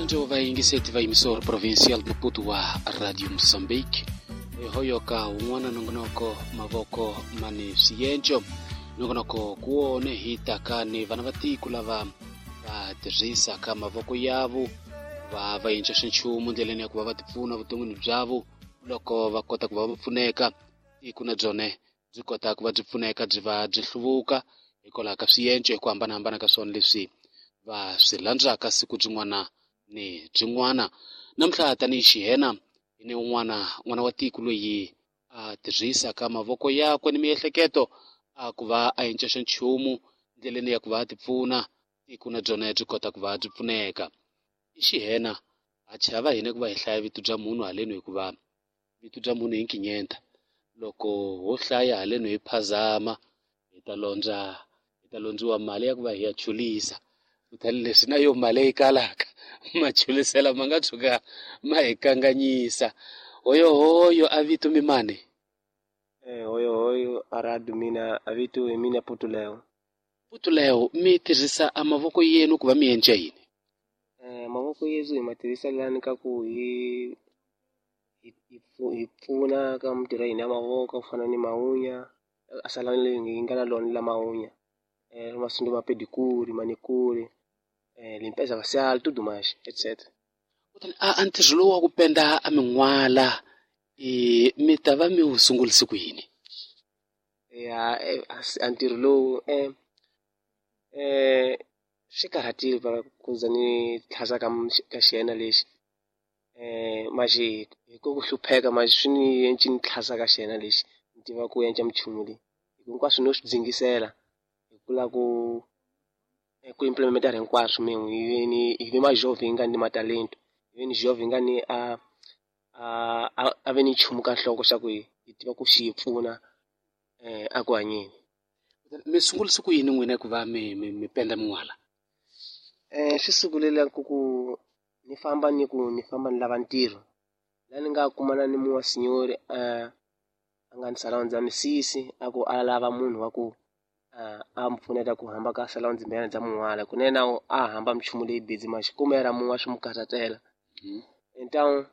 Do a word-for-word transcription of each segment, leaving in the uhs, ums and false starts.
Njo vayingiseti va emisora provincial Maputo wa Radio Mozambique hoyoka un'wana nongonoko mavoko mani swiyenco nongonoko kuwone hi taka ni vana va tiko lava va tirhisaka mavoko yavo va va endla xinchumu ndleleni ya ku va va tipfuna vuton'wini byavo loko va kota ku va va pfuneka tiko na byone byi kota ku va byi pfuneka byi va byi hluvuka hikwalaho ka swiyenco hi ku hambanahambana ka swona leswi va swi landzaka siku byin'wana ni byin'wana. Namuntlha tanihi xihena hi ni un'wana n'wana wa tiko loyi a tirhisaka mavoko yakwe ni miehleketo a ku va a endla xanchumu ndleleni ya ku va a tipfuna tiko na byona byi kota ku va byi pfuneka. I xihena a chava hina ku va hi hlaya vito bya munhu haleno hikuva vito bya munhu hi nkinyenta loko ho hlaya haleno hi phazama hi ta londza hi ta londziwa mali ya ku va hi ya chulisa kutani leswi na yo mali yi kalaka machulisela ma nga tshuka ma hi kanganyisa. Hoyohoyo a vito mimani? Eh, hoyohoyo aradu mina a vito hi mina Putuleo. Putuleo, mi tirhisa a mavoko yenu ku va mi endla yini? Eh, mavoko yesu hi ma tirhisa lani ka ku hi hi hi pfuna ka mintirho ya hina ya mavoko ku fana ni mawunya a salani leyi hi nga na lona la mawunya eh masundu ma pedicure manicure eh limpeza facial tudo mais etc. Kutani a a ntirho lowu wa ku penda a min'wala i mi ta va mi wu sungurise ku yini? Ya a ntirho lowu eh eh swi karhatile va ku za ni tlhasa ka ka xiyena lexi eh maxi hi ku hlupheka maxi swi ni endli ni tlhasa ka xiyena lexi ni tiva ku endla minchumu leyi hinkwaswo no swi dzingisela hi ku lava ku ku implementa hinkwaswo min'we hi ni hi ve majovhi hi nga ni matalento hi ve ni jovhi hi nga ni a a a ve ni nchumu ka nhloko xa ku hi hi tiva ku xi hi pfuna eh a ku hanyeni. Mi sungurise ku yini n'wina ku va mi mi mi penda min'wala? Eh swi sungurile ku ku ni famba ni ku ni famba ni lava ntirho la ni nga kumana ni muwa sinyori eh a nga ni salon dza misisi a ku a lava munhu wa ku a mi pfuneta ku hamba ka salon dzimbenyana dza mun'wala kunene na a hamba minchumu leyi busy maxi kumera mun'wa swi mu karhatela então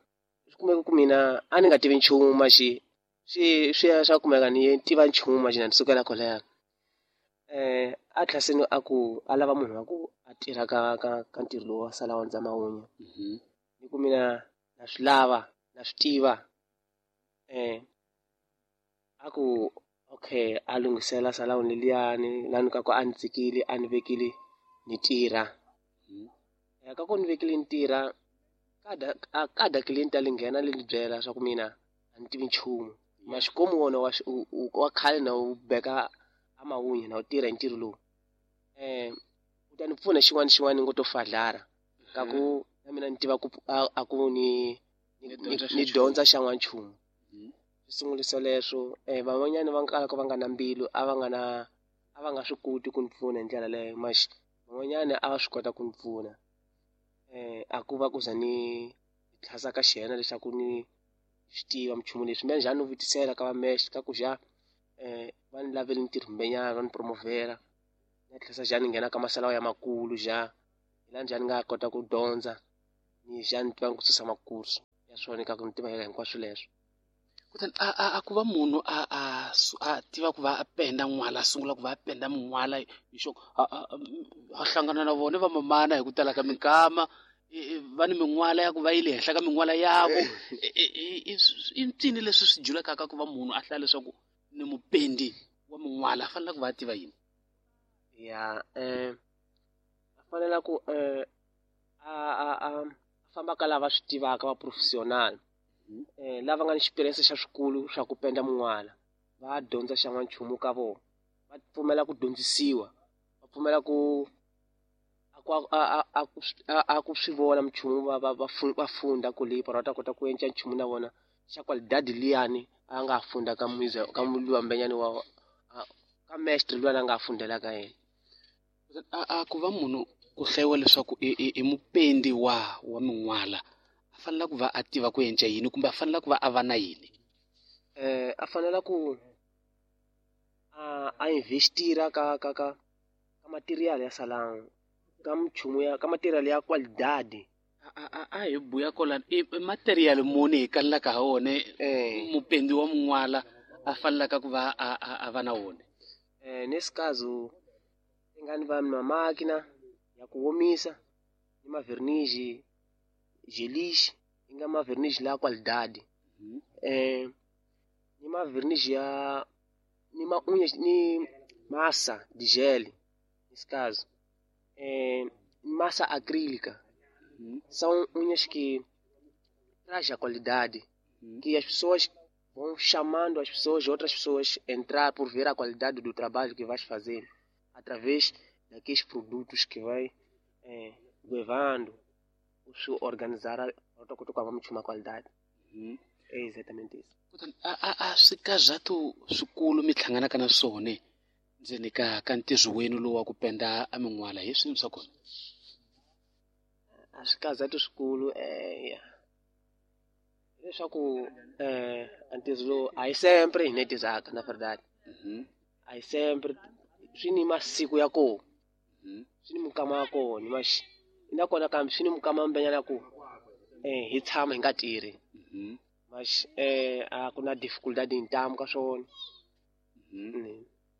swi kumeka ku mina a ni nga tivi nchumu maxi swi swi ya swa kumeka ni tiva nchumu maxi na ni sukela kwalaya eh a tlhaseni a ku a lava munhu wa ku a tirha ka ka ka ntirho lowu wa salon dza mawunya ni ku mina na swi lava na swi tiva eh a ku okay a lunghisela salon leliyani lani ka ku a ni tsikile a ni vekile ni tirha ya ka ku ni vekile ni tirha kada kada client a li nghena li ni byela swa ku mina a ni tivi nchumu maxikomu wona wa wa khale na wu beka a mawunya na wu tirha hi ntirho lowu eh u ta ni pfuna xin'wana xin'wana ni ngo to fadlara ka ku na mina ni tiva ku a ku ni ni dyondza xan'wa nchumu. Swi sungulisa leswo eh van'wanyana va kalaka va nga na mbilu a va nga na a va nga swi koti ku ni pfuna hi ndlela leyo maxi van'wanyana a va swi kota ku ni pfuna eh a ku va ku za ni tlhasa ka xiyena leswaku ni swi tiva minchumu leswi mina njhani ni vutisela ka va mesh ka ku xa eh va ni lavele ntirho mbenyana va ni promovela na tlhasa njhani ni nghena ka masalawo ya makulu ja hi la njhani nga kota ku dyondza ni njhani tiva ku susa makursu ya swona ka ku ni tiva hinkwaswo leswo. Kutani a a a ku va munhu a a a tiva ku va a penda n'wala a sungula ku va a penda min'wala hi xo a hlangana na vona va mamana hi ku tala ka minkama va ni min'wala ya ku va yi le henhla ka min'wala yavo i ncini leswi swi julekaka ku va munhu a hlaya leswaku ni mupendi wa min'wala a fanele ku va a tiva yini? Ya eh a fanele ku eh a a a famba ka lava swi tivaka va professional eh lava nga ni experience xa swikulu swa ku penda mun'wala va dyondza xan'wa nchumu ka vona va pfumela ku dyondzisiwa va pfumela ku a a a ku swi vona minchumu va va va funda ku leyi va ta kota ku endla nchumu na vona xa qualidade liyani a nga funda ka muza ka muluwa mbenyani wa ka mestre luwa a nga fundela ka yena. A a ku va munhu ku hlayiwa leswaku i i mupendi wa wa min'wala a fanele ku va a tiva ku endla yini kumbe a fanele ku va a va na yini? Eh a fanele ku a a investira ka ka ka ka material ya salon ka minchumu ya ka material ya qualidade A a hi buya kolani i material muni hi kalelaka ha wona mupendi wa mun'wala a fanelaka ku va a a va na wona? Eh, nesse caso ingani va na máquina ya ku omisa ni maverniz gelish i nga maverniz la qualidade eh ni maverniz ya ni ma unhas ni massa de gel nesse caso eh massa acrílica são unhas que traz a qualidade que as pessoas vão chamando as pessoas, outras pessoas entrar por ver a qualidade do trabalho que vais fazer através daqueles produtos que vai eh, levando o organizar a uma qualidade. É exatamente isso. A a a swikazato swikulu mi hlanganaka na swona ndzeni ka ka ntirho wenu lowu wa ku penda a min'wala hi swini swa kona? A swikazato swikulu eh leswaku eh ntirho lowu a hi sempre hi netizaka na verdade. A hi sempre swi ni masiku ya kona swi ni minkama ya kona mas nakona kambe swi ni minkama mbenyana ku eh hi tshama hi nga tirhi mas eh a ku na dificuldade ntamu ka swona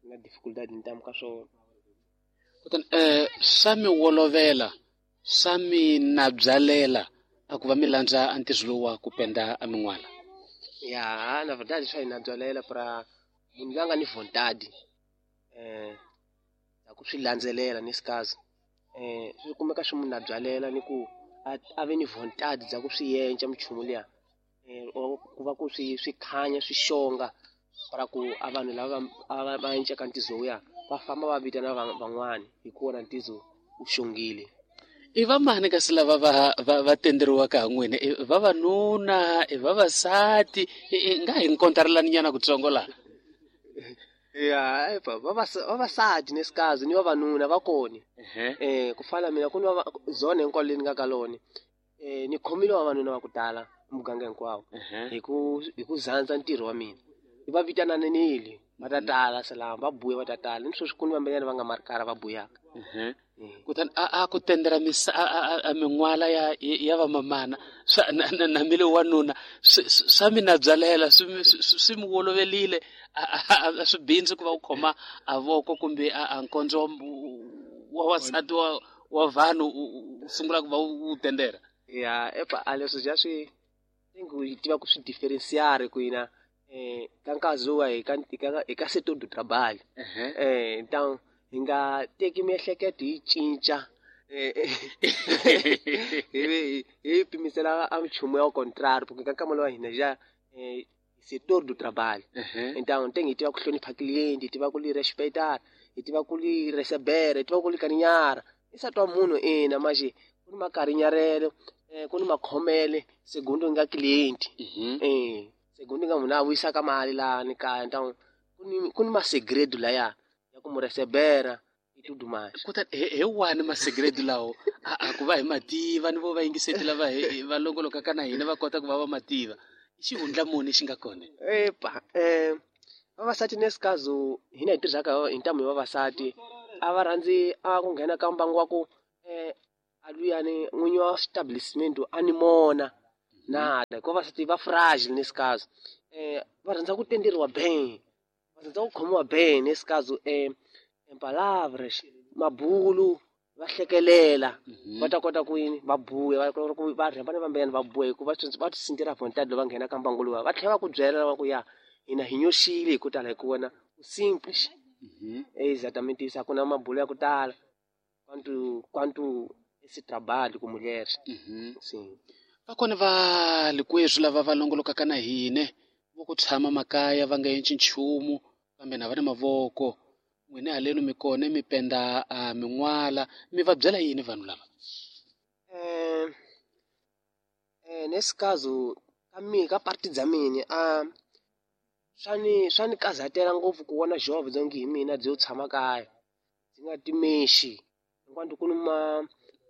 na dificuldade ntamu ka swona. Kutani eh swa mi wolovela swa mi nabyalela a ku va mi landza a ntirho lowu wa ku penda a min'wala? Ya na verdade swa hi nabyalela pra munhu loyi a nga ni vontade eh ya ku swi landzelela nesse caso eh swi kumeka swi munhu nabyalela ni ku a ve ni vontade bya ku swi yenca minchumu liya eh ku va ku swi swi khanya swi xonga para ku a vanhu lava va va enceka ntizo wuya va famba va vitana van'wani hi ku wona ntizo wu xongile. I vamani kasi lava va va va tenderiwaka ha n'wina? I vavanuna, i vavasati? I nga hi nkontarelani nyana kutsongo laha? Ya epa vavasati nesse caso ni vavanuna va kona eh ku fana mina ku ni zone hinkwayo leyi ni nga ka lona eh ni khomile vavanuna va ku tala muganga hinkwawo hi ku hi ku zandza ntirho wa mina i va vitananile va ta tala salama va buya va ta tala ni sweswi ku ni vambenyana va nga marikara va buyaka. Kutani a a ku tendera misa a min'wala ya ya vamamana swa na na na mi le wanuna swa mi nabyalela swi swi mi wolovelile a swi bindzi ku va u khoma a voko kumbe a nkondzo wa wansati wa wa vanhu u sungula ku va u tendera? Ya epa a leswi ja swi ku hi tiva ku swi differenciare ku hina eh ka nkarhi lowu hi ka hi ka setor do trabalho eh então hi nga teki miehleketo hi cinca hi hi pimisela a nchumu ya contrario porque ka nkama lowa hina ja eh setor do trabalho então tem hi tiva ku hlonipha cliente hi tiva ku li respeitar hi tiva ku li receber hi tiva ku li kaninyara i nsati wa munhu ina manje ku ni makarinyarelo eh ku ni makhomele segundo nga cliente eh segundo nga munhu a vuyisaka mali lani kaya então ku ni ku ni masegredo laya ya ku mu recebera e tudo mais. Kutani hi wani masegredo lawo a a ku va hi mativa ni vo va yingiseti lava hi va longolokaka na hina va kota ku va va mativa i xihundla muni xi nga kona? Epa eh vavasati nesse caso hina hi tirhaka hi ntamu hi vavasati a va rhandzi a ku nghena ka mbangu wa ku eh a luyani n'winyi wa establishment a ni mona nada hikuva vavasati va fragile nesse caso eh va rhandza ku tenderiwa bem va rhandza ku khomiwa bem nesse caso eh em palavras mabulu va hlekelela va ta kota ku yini va buya va kota ku va rhamba na vambeyana va buya hikuva va ti sintira vontade loko va nghena ka mbangu luwa va tlhela va ku byela va ku ya hina hi nyoxile hi ku tala hi ku wena u simples exatamente isso a ku na mabulo ya ku tala quanto quanto esse trabalho com mulheres sim. Va kona va likweswi lava va longolokaka na hina vo ku tshama makaya va nga endli nchumu kambe na va na mavoko n'wina halenu mi kona mi penda a min'wala mi va byela yini vanhu lava? Eh eh nesse caso ka mina ka parti bya mina a swa ni swa ni kazatela ngopfu ku vona jovha bya ngi hi mina byo tshama kaya byi nga timexi hinkwato ku ni ma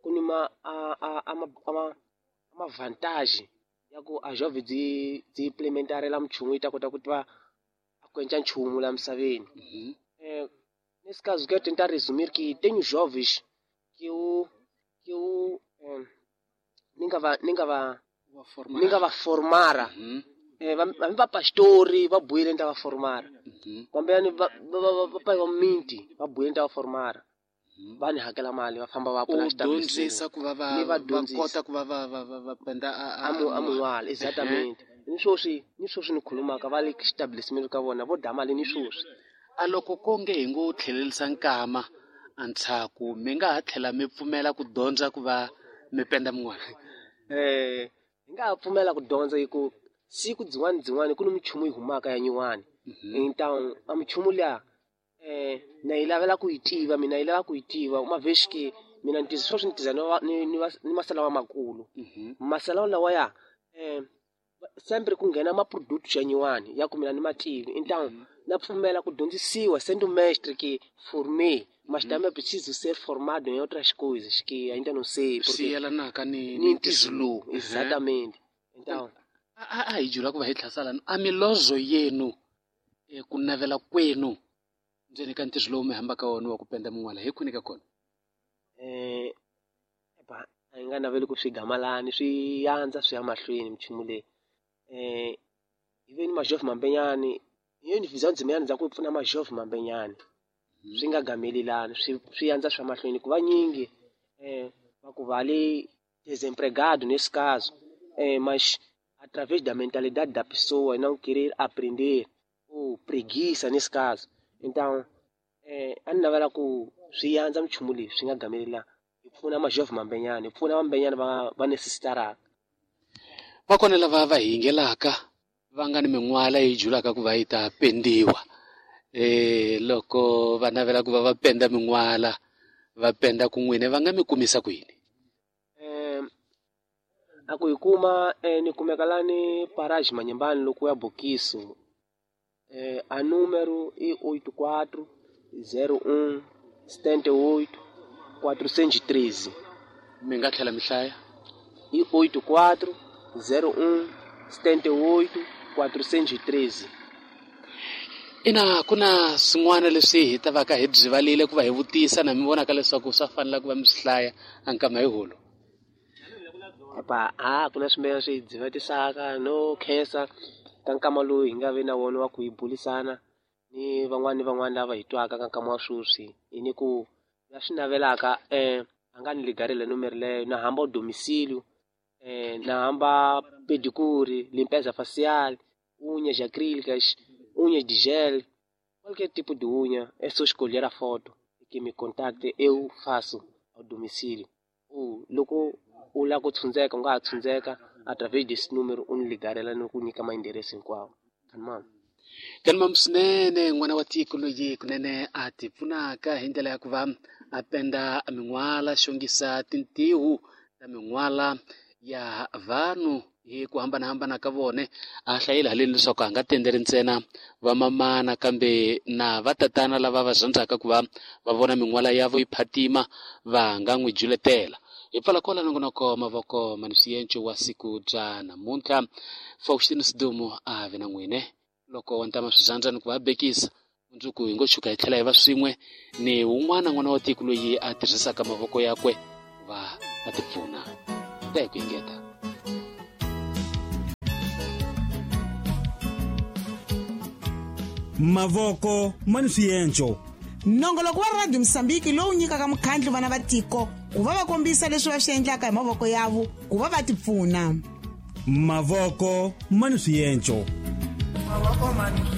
ku ni ma a a a ma a ma vantage ya ku a jovha byi byi implementarela minchumu yi ta kota ku tiva a ku endla nchumu la misaveni. Eh nesse caso quero tentar resumir que tenho jovens que eu que eu eh, ni nga va ni nga va ni nga va formara eh va va pastori va buyile nta va formara kambe yani va va va va minti va buyile nta va formara va ni hakela mali va famba va pfula dyondzisa ku va va va kota ku va va va va penda a a mun'wala exactamente ni swoswi ni swoswi ni khulumaka va le establishment ka vona vo dya mali ni swoswi a loko konge hi ngo tlhelerisa nkama antshaku mi nga ha tlhela mi pfumela ku dyondza ku va mi penda min'wana eh hi nga ha pfumela ku dyondza hi ku siku byin'wana byin'wana ku ni minchumu yi humaka ya nyuwani então a minchumu liya eh na yi lavela ku yi tiva mina yi lava ku yi tiva uma vez que mina ni sweswi ni tiza ni ni ni masala wa makulu masala lawa ya eh sempre ku nghena ma product ya nyuwani ya ku mina ni mativi então na pfumela ku dyondzisiwa sendo mestre que formei mas também preciso ser formado em outras coisas que ainda não sei porque swi yelanaka ni ni ntizo lowu exatamente então a a hi jula ku va hi tlhasala a milozo yenu ku navela kwenu ndzeni ka ntirho lowu mi hambaka wona wa ku penda min'wala hi kwini ka kona eh ba a hi nga naveli ku swi gamalani swi yandza swi ya mahlweni minchumu leyi eh hi ve ni majove mambenyani hi ni visão ndzimeyani ndza ku pfuna majove mambenyani swi nga gamelelani swi swi yandza swa mahlweni ku va nyingi eh va ku va le desempregado nesse caso eh mas através da mentalidade da pessoa não querer aprender ou preguiça nesse caso então eh a ni navela ku swi yandza minchumu leyi swi nga gamelela hi pfuna majove mambenyani hi pfuna mambenyani va va necessitaraka va kona lava va hingelaka va nga ni min'wala yi julaka ku va yi ta pendiwa eh loko va navela ku va va penda min'wala va penda kun'wini va nga mi kumisa ku yini eh a ku yi kuma eh, ni kumeka lani Parage Manyembani loko ya Bokiso eh a número i oito quatro zero um setenta e oito quatrocentos e treze mi nga tlhela mi hlaya i oito quatro zero um setenta e oito quatrocentos e treze ina ku na swin'wana leswi hi ta vaka hi byivalile ku va hi vutisa na mi vonaka leswaku swa fanela ku va mi swi hlaya a nkama hi holo epa a ku na swimilana swi byivatisaka no khensa ka nkama lowu hi nga ve na wona wa ku hi bulisana ni van'wana ni van'wana lava hi twaka ka nkama wa sweswi hi ni ku la swi navelaka eh a nga ni ligarela nomero leyo na hamba domicílio eh na hamba pedicure limpeza facial unhas acrílicas unhas de gel qualquer tipo de unha é só escolher a foto e que me contacte eu faço ao domicílio ou loko u lava ku tshundzeka u nga ha tshundzeka através desse número u ni ligarela ni ku nyika maendereço hinkwawo kanimam kanimam swinene n'wana wa tiko loyi kunene a ti pfunaka hi ndlela ya ku va a penda min'wala xongisa tintiho ta min'wala ya vanhu hi ku hambanahambana ka vone a hlayile haleni leswaku a nga tenderi ntsena vamamana kambe na vatatana lava va rhandzaka ku va va vona min'wala yavo yi phatima va nga n'wi juletela hi pfala kwala nongonoko mavoko ma ni swienco wa siku bya namuntlha Faustino Sidumo a ve na n'wine loko wa ntama swi rhandza ni ku va bekisa mundzuku hi ngo tshuka hi tlhela hi va swin'we ni wun'wana n'wana wa tiko loyi a tirhisaka mavoko yakwe ku va a ti pfuna ta hi ku engeta Mavoko ma ni swienco nongoloko wa Radio Mosambiki lowu nyikaka mukhandlu vana va tiko ku va va kombisa leswi va swi endlaka hi mavoko yavo ku va va tipfuna Mavoko ma ni swienco Mavoko ma ni